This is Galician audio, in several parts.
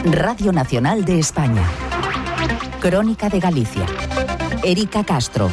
Radio Nacional de España. Crónica de Galicia. Erika Castro.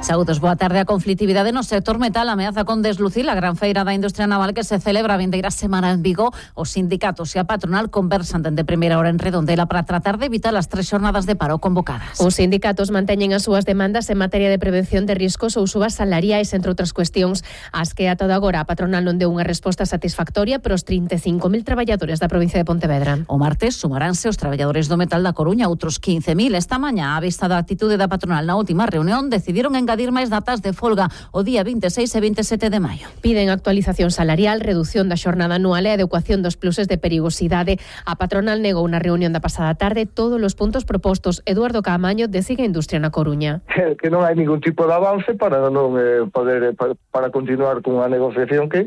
Saúdos, boa tarde. A conflitividade no sector metal ameaza con deslucir a gran feira da industria naval que se celebra a vindeira semana en Vigo. Os sindicatos e a patronal conversan dende primeira hora en Redondela para tratar de evitar as 3 xornadas de paro convocadas. Os sindicatos manteñen as súas demandas en materia de prevención de riscos ou subas salariais, entre outras cuestións, as que ata agora a patronal non deu unha resposta satisfactoria para os 35.000 traballadores da provincia de Pontevedra. O martes sumaránse os traballadores do metal da Coruña, outros 15.000. Esta mañá, á vista da actitude da patronal na última reunión, decidiron engadir máis datas de folga o día 26 e 27 de maio. Piden actualización salarial, reducción da xornada anual e adecuación dos pluses de perigosidade. A patronal negou na reunión da pasada tarde todos os puntos propostos. Eduardo Caamaño, de Siga Industria na Coruña. Que non hai ningún tipo de avance para non poder para continuar con a negociación que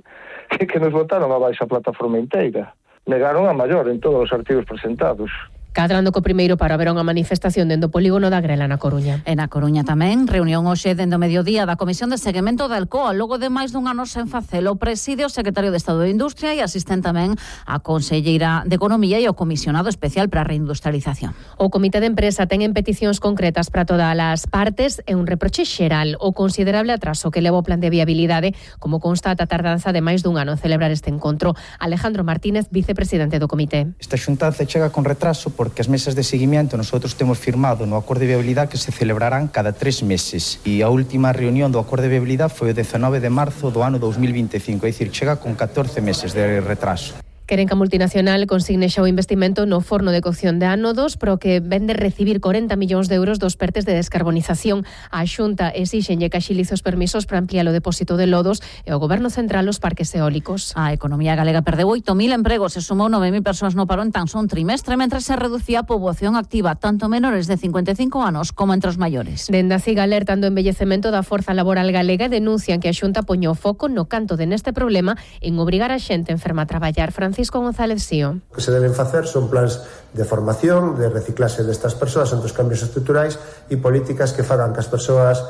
nos votaron abaixo a plataforma inteira. Negaron a maior en todos os artigos presentados. Cadrando co primeiro paro haberá unha manifestación dentro do polígono da Grela na Coruña. E na Coruña tamén, reunión hoxe dende o mediodía da Comisión de Seguimento da Alcoa, logo de máis dun ano sen facelo. Preside o secretario de Estado de Industria e asisten tamén a conselleira de Economía e o comisionado especial para a reindustrialización. O Comité de Empresa ten en peticións concretas para todas as partes e un reproche xeral o considerable atraso que leva o plan de viabilidade, como constata a tardanza de máis dun ano en celebrar este encontro. Alejandro Martínez, vicepresidente do comité. Esta xuntanza chega con retraso porque as mesas de seguimiento nosotros temos firmado no acordo de viabilidade que se celebrarán cada 3 meses e a última reunión do acordo de viabilidade foi o 19 de marzo do ano 2025, é dicir, chega con 14 meses de retraso. Queren que a multinacional consigne xa o investimento no forno de cocción de ánodos, pero que vende recibir 40 millóns de euros dos pertes de descarbonización. A Xunta exixenlle que axilice os permisos para ampliar o depósito de lodos e o Goberno Central os parques eólicos. A economía galega perdeu 8.000 empregos e sumou 9.000 persoas no paro en tan só un trimestre, mentre se reducía a poboación activa, tanto menores de 55 anos como entre os maiores. Dende a CIG alertan do envellecemento da forza laboral galega e denuncian que a Xunta poño o foco no canto de neste problema en obrigar a xente enferma a traballar. Francisco González Sío. O que se deben facer son plans de formación, de reciclase destas persoas ante os cambios estruturais e políticas que fagan que as persoas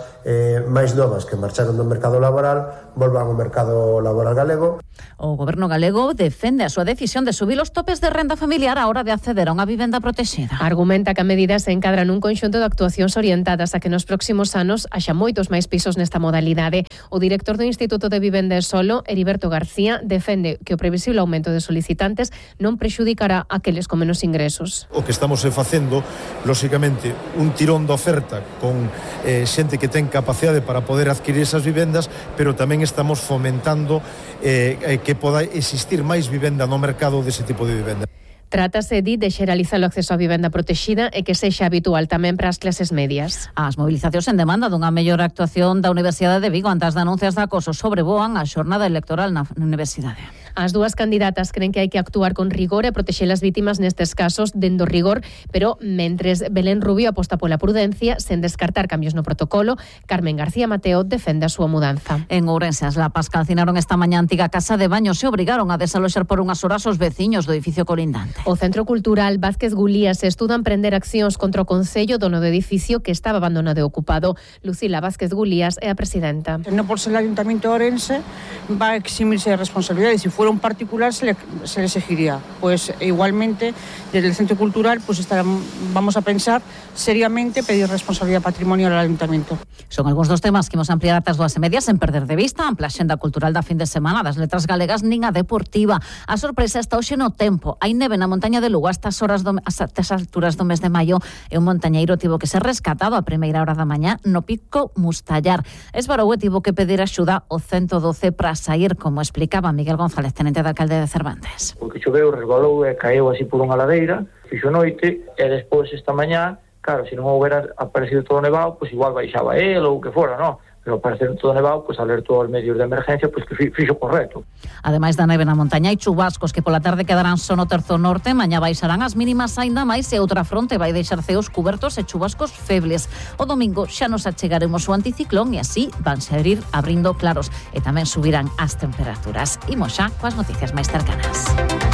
máis novas que marcharon do mercado laboral volvan ao mercado laboral galego. O Goberno galego defende a súa decisión de subir os topes de renda familiar á hora de acceder a unha vivenda protexida. Argumenta que a medida se encadra nun conxunto de actuacións orientadas a que nos próximos anos haxa moitos máis pisos nesta modalidade. O director do Instituto de Vivenda e Solo, Heriberto García, defende que o previsible aumento de solicitantes non prexudicará a aqueles con menos ingresos. O que estamos facendo, lóxicamente, un tirón de oferta con xente que ten capacidade para poder adquirir esas vivendas, pero tamén estamos fomentando que poda existir máis vivenda no mercado dese tipo de vivenda. Trátase de xeralizar o acceso á vivenda protexida e que sexa habitual tamén para as clases medias. As movilizacións en demanda dunha mellor actuación da Universidade de Vigo ante as denuncias de acoso sobrevoan a xornada electoral na universidade. As dúas candidatas creen que hai que actuar con rigor e protexer as vítimas nestes casos dendo rigor, pero mentres Belén Rubio aposta pola prudencia sen descartar cambios no protocolo, Carmen García Mateo defende a súa mudanza. En Ourense, as lapas calcinaron esta mañá a antiga casa de baños e obrigaron a desaloxar por unhas horas os veciños do edificio colindante. O Centro Cultural Vázquez Gulías estuda emprender accións contra o Concello, dono do edificio que estaba abandonado e ocupado. Lucila Vázquez Gulías é a presidenta. No por ser el Ayuntamiento de Ourense va a eximirse de responsabilidades. Si fuera un particular se le exigiría. Pues igualmente desde el Centro Cultural pues vamos a pensar seriamente pedir responsabilidad patrimonial al Ayuntamiento. Son algúns dos temas que imos ampliar ata as 2:30 sen perder de vista a ampla axenda cultural da fin de semana das letras galegas nin a deportiva. A sorpresa está hoxe no tempo. Hai neve na montaña de Lugo a estas alturas do mes de maio e un montañeiro tivo que ser rescatado a primeira hora da mañá no Pico Mustallar. Esbarou e tivo que pedir axuda ao 112 para sair, como explicaba Miguel González, tenente de alcalde de Cervantes. Porque choveu, resbalou e caeu así por unha ladeira, fixo noite e despois esta mañá, claro, se non houbera aparecido todo nevado, pois igual baixaba el ou o que fora, non? Pero para ser todo nevado, pues alertou aos medios de emergencia, pues que fixo correcto. Ademais da neve na montaña, hai chubascos que pola tarde quedarán só no terzo norte, mañá baixarán as mínimas aínda máis e outra fronte vai deixar ceos cubertos e chubascos febles. O domingo xa nos achegaremos o anticiclón e así vanse abrindo claros e tamén subirán as temperaturas. Imos xa coas noticias máis cercanas.